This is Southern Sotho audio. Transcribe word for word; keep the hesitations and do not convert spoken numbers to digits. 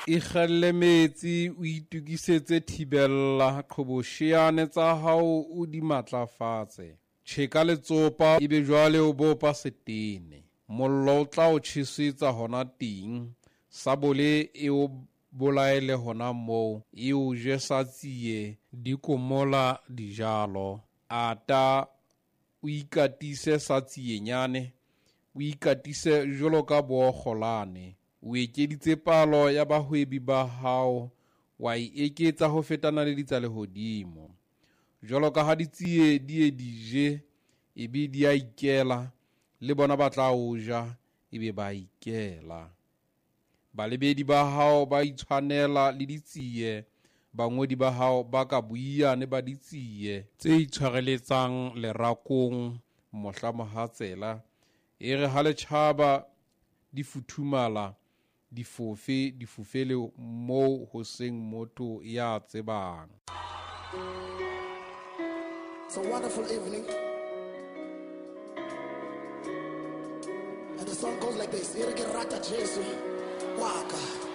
Ikgelle metsi, o itokisetse thibella, qhobosheane tsa hao o di matlafatse. Tjheka letsopa, ebe jwale o bopa setene. Mollo o tla o tjhesetsa hona teng, sabole e o bolaele hona moo, e o je sa tsie di komola dijalo. Ata o ikatise sa tsienyane, o ikatise jwalo ka bookgolane. O ekeditse palo ya bahwebi ba hao, wa e eketsa ho feta naledi tsa lehodimo. Jwalo ka ha ditsie di ye di je, ebe di a ikela, le bona ba tla o ja, ebe ba ikela. Balebedi ba hao ba itshwanela le ditsie, bangodi ba hao ba ka boiyane ba ditsie tse itshwareletsang lerakong mohla mohatsela. Ere ha le tjhaba di futhumala, di fofe, di fofele moo ho seng motho ya tsebang. It's a wonderful evening. And the song goes like this. Ere ke rata Jesu wa ka.